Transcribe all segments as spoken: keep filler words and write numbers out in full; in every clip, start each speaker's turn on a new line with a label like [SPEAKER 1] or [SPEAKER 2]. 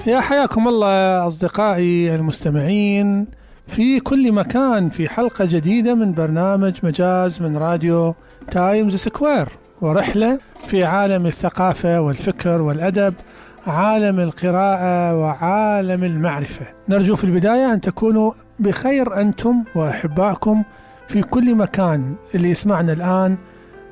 [SPEAKER 1] يا حياكم الله أصدقائي المستمعين في كل مكان في حلقة جديدة من برنامج مجاز من راديو تايمز سكوير، ورحلة في عالم الثقافة والفكر والأدب، عالم القراءة وعالم المعرفة. نرجو في البداية أن تكونوا بخير أنتم وأحبائكم في كل مكان. اللي يسمعنا الآن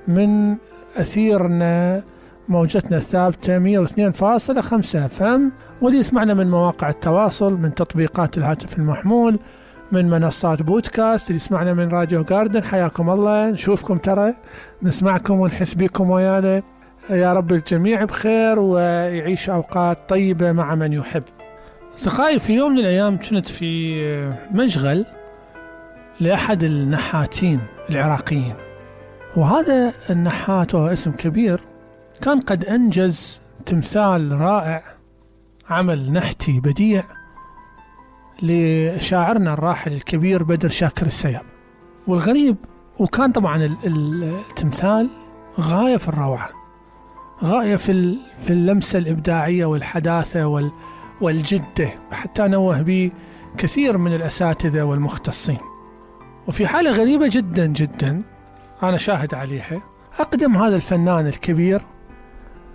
[SPEAKER 1] من أثيرنا موجتنا الثابتة مئة واثنين فاصلة خمسة اف ام، واللي يسمعنا من مواقع التواصل، من تطبيقات الهاتف المحمول، من منصات بودكاست، اللي يسمعنا من راديو جاردن. حياكم الله، نشوفكم ترى، نسمعكم ونحس بكم ويانا. يا رب الجميع بخير ويعيش أوقات طيبة مع من يحب. أصدقائي، في يوم من الأيام كنت في مشغل لأحد النحاتين العراقيين، وهذا النحات وهو اسم كبير كان قد أنجز تمثال رائع، عمل نحتي بديع لشاعرنا الراحل الكبير بدر شاكر السياب. والغريب، وكان طبعا التمثال غاية في الروعة، غاية في في اللمسة الإبداعية والحداثة والجدة، حتى نوه به كثير من الأساتذة والمختصين. وفي حالة غريبة جدا جدا أنا شاهد عليها، أقدم هذا الفنان الكبير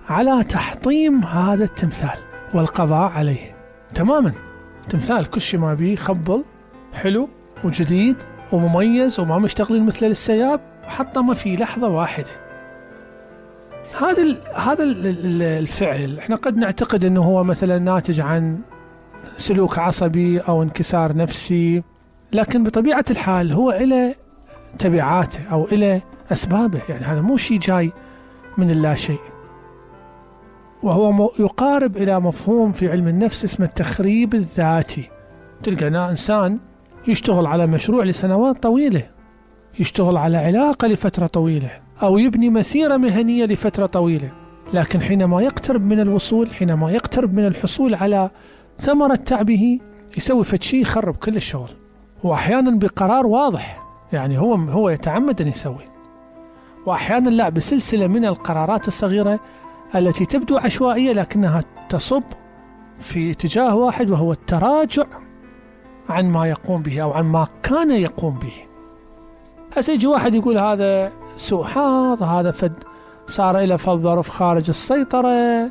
[SPEAKER 1] على تحطيم هذا التمثال والقضاء عليه تماما. تمثال كل شيء ما بيه خبل حلو وجديد ومميز وما مشتغلين مثل السياب، وحطمه في لحظة واحدة. هذا ال هذا ال الفعل احنا قد نعتقد انه هو مثلا ناتج عن سلوك عصبي او انكسار نفسي، لكن بطبيعة الحال هو إلى تبعاته او إلى اسبابه. يعني هذا مو شيء جاي من اللا شيء، وهو يقارب إلى مفهوم في علم النفس اسمه التخريب الذاتي. تلقى إنسان يشتغل على مشروع لسنوات طويلة، يشتغل على علاقة لفترة طويلة، أو يبني مسيرة مهنية لفترة طويلة، لكن حينما يقترب من الوصول، حينما يقترب من الحصول على ثمرة تعبه، يسوي فد شيء يخرب كل الشغل، وأحيانا بقرار واضح. يعني هو هو يتعمد أن يسوي، وأحيانا لا، بسلسلة من القرارات الصغيرة التي تبدو عشوائية لكنها تصب في اتجاه واحد، وهو التراجع عن ما يقوم به أو عن ما كان يقوم به. هسه يجي واحد يقول هذا سوء حظ، هذا فد صار إلى فد ظرف خارج السيطرة،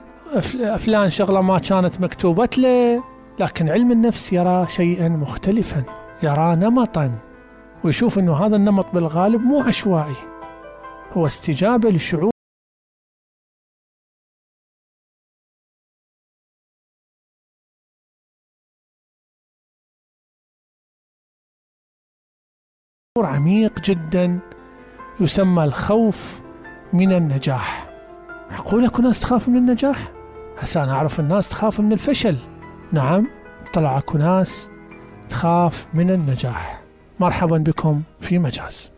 [SPEAKER 1] فلان شغلة ما كانت مكتوبة له. لكن علم النفس يرى شيئا مختلفا، يرى نمطا، ويشوف أنه هذا النمط بالغالب مو عشوائي، هو استجابة لشعور عميق جدا يسمى الخوف من النجاح. معقول اكو ناس تخاف من النجاح؟ هسه انا اعرف الناس تخاف من الفشل. نعم، طلع اكو ناس تخاف من النجاح. مرحبا بكم في مجاز.